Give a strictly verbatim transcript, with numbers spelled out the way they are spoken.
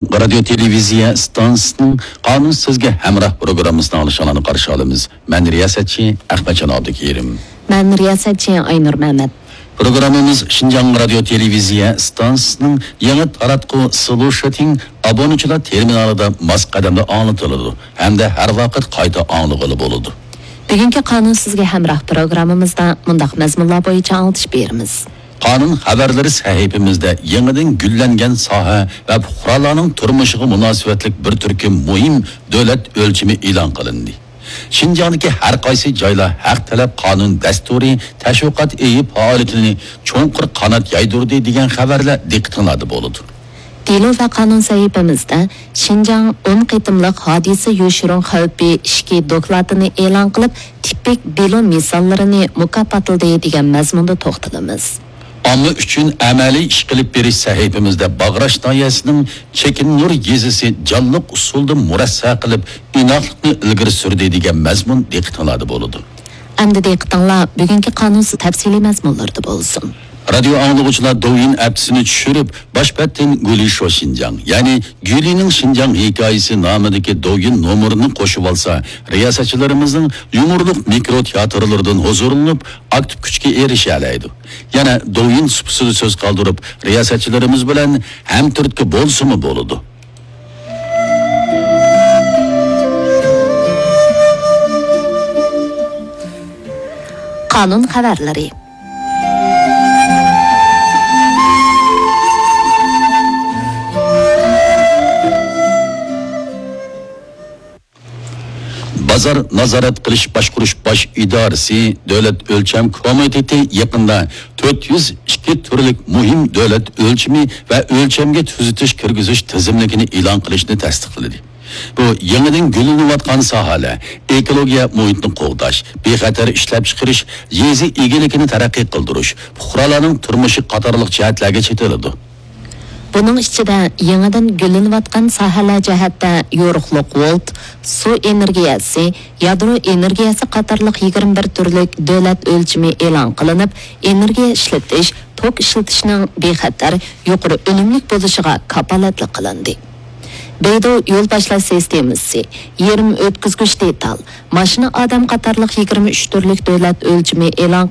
رادىيو تېلېۋىزىيە ئىستانسىسىنىڭ قانۇن سىزگە ھەمراھ پروگراممىسىنى ئاڭلىشىڭلارنى قارشى ئالىمىز. مەن رىياسەتچى ئەخمەتجان ئابدۇكېرىم. مەن رىياسەتچى ئاينۇر مەمەت. پروگراممىمىز شىنجاڭ رادىيو تېلېۋىزىيە ئىستانسىسىنىڭ يېڭى تاراتقۇ سلۇشىتىڭ ئابۇنىچىلار تېرمىنالىدا ماس قەدەمدە ئاڭلىتىلىدۇ ھەمدە ھەر ۋاقىت قايتا ئاڭلىغىلى بولىدۇ. بۈگۈنكى قانۇن سىزگە ھەمراھ پروگراممىمىزدا مۇنداق مەزمۇنلار بويىچە ئاڭلىتىش بېرىمىز. قانۇن خەۋەرلىرى سەھىپىمىزدە يېڭىدىن گۈللەنگەن ساھە ۋە پۇقرالارنىڭ تۇرمۇشىغا مۇناسىۋەتلىك بىر تۈركۈم مۇھىم دۆلەت ئۆلچىمى ئېلان قىلىندى. شىنجاڭدىكى ھەر قايسى جايلار ھەق تەلەپ قانۇن دەستۇرى، تەشۋىقات ئېيى پائالىيىتىنى چوڭقۇر قانات يايدۇردى دېگەن خەۋەرلەر دىققىتىڭلاردا بولىدۇ. دېلو ۋە قانۇن سەھىپىمىزدە شىنجاڭ ئون قېتىملىق ھادىسە يوشۇرۇن خەۋپى ئىككى دوكلاتىنى ئېلان قىلىپ، تىپىك دېلو مىساللىرىنى مۇكاپاتلىدى دېگەن مەزمۇندا توختىلىمىز. ئامما ئۈچۈن ئەمەلىي ئىش قىلىپ بېرىش سەھىپىمىزدە باغراش ناھىيەسىنىڭ چېكىننۇر يېزىسى جانلىق ئۇسۇلدا مۇرەسسە قىلىپ، ئىناقلىقنى ئىلگىرى سۈردى دېگەن مەزمۇن دىققىتىڭلاردا بولىدۇ. ئەمدى دىققىتىڭلار بۈگۈنكى قانۇن تەپسىلىي مەزمۇنلىرىدا بولسۇن. رادىيو ئاڭلىغۇچىلار دوۋيىن ئەپتىسىنى چۈشۈرۈپ، باش بەتتىن گۈلى شو شىنجاڭ، يەنى گۈلىنىڭ شىنجاڭ ھېكايىسى نامىدىكى دوۋيىن نومۇرىنى قوشۇۋالسا، رىياسەتچىلىرىمىزنىڭ يۇمۇرلۇق مىكرو تىياتىرلىرىدىن ھۇزۇرلىنىپ، ئاكتىپ كۈچكە ئېرىشەلەيدۇ. يەنە دوۋيىن سۇپىسىدا سۆز قالدۇرۇپ، رىياسەتچىلىرىمىز بىلەن ھەمتۈرتكە بولسىمۇ بولىدۇ. قانۇن خەۋەرلىرى. بازار نازارەت قىلىش باشقۇرۇش باش ئىدارىسى دۆلەت ئۆلچەم كومىتېتى يېقىندا تۆت يۈز ئىككى تۈرلۈك مۇھىم دۆلەت ئۆلچىمى ۋە ئۆلچەمگە تۈزىتىش كىرگۈزۈش تىزىملىكىنى ئېلان قىلىشنى تەستىقلىدى. بۇ يېڭىدىن گۈللىنىۋاتقان ساھەلەر، ئېكولوگىيە مۇھىتنى قوغداش، بىخەتەر ئىشلەپچىقىرىش، يېزا ئىگىلىكىنى تەرەققىي قىلدۇرۇش، پۇقرالارنىڭ تۇرمۇشى قاتارلىق جەھەتلەرگە چېتىلىدۇ. بۇنىڭ ئىچىدە يېڭىدىن گۈللىنىۋاتقان ساھەلەر جەھەتتە يورۇقلۇق ۋولت، سۇ ئېنېرگىيەسى، يادرو ئېنېرگىيەسى قاتارلىق يىگىرمە بىر تۈرلۈك دۆلەت ئۆلچىمى ئېلان قىلىنىپ، ئېنېرگىيە ئىشلىتىش، توك ئىشلىتىشنىڭ بىخەتەر، يۇقىرى ئۈنۈملۈك بولۇشىغا كاپالەتلىك قىلىندى. بەيدۇ يول باشلاش سىستېمىسى، يېرىم ئۆتكۈزگۈچ دېتال، ماشىنا ئادەم قاتارلىق يىگىرمە ئۈچ تۈرلۈك دۆلەت ئۆلچىمى ئېلان